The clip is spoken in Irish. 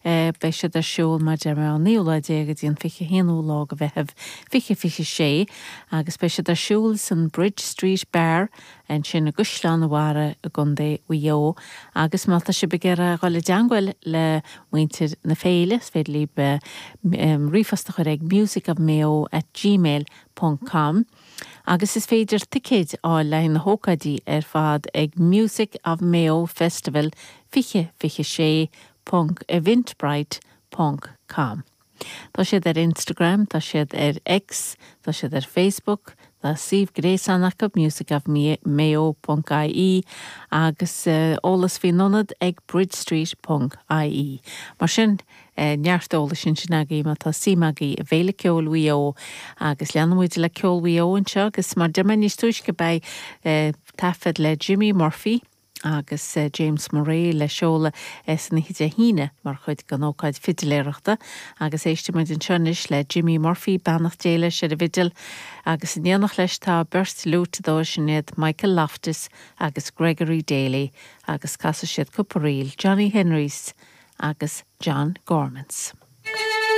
Beidh siad ar siúl mar deir mé ón naoú lá déag go dtí an 21ú lá de Mheitheamh 2026 agus beidh siad ar siúl san Bridge Street Bar ansin i gCaisleán an Bharraigh i gContae Mhaigh Eo agus má tá sibh ag iarraidh dhul i dteangmháil le muintir na féile is féidir libh ríomhphost a chur ag musicofmayo at gmail ponc com agus is féidir ticéid a fháil le haghaidh na hócáidí ar fad ag Music of Mayo Festival 2026 ponc eventbrite ponc com. Tá siad ar Instagram, tá siad ar X, tá siad ar Facebook, tá suíomh gréasáin acu, musicofmayo ponc ie, agus eolas faoin ionad ag bridgestreet ponc ie. Mar sin, neart eolais ansin agaibh má tá suim agaibh i bhFéile Ceoil Mhaigh Eo agus leanfaidh muid le ceol Mhaigh Eo anseo agus mar a deir mé níos túisce beidh taifead le Jimmy Murphy agus James Murray le seoladh san oíche Dé hAoine mar chuid den ócáid fidiléireachta agus éistfidh muid anseo anois le Jimmy Murphy, beannacht Dé leis, ar an bhfidil agus in éineacht leis tá beirt fhliúiteadóir, sin iad Michael Loftus agus Gregory Daly agus casfaidh siad cúpla ríl, Johnny Henry's agus John Gorman's.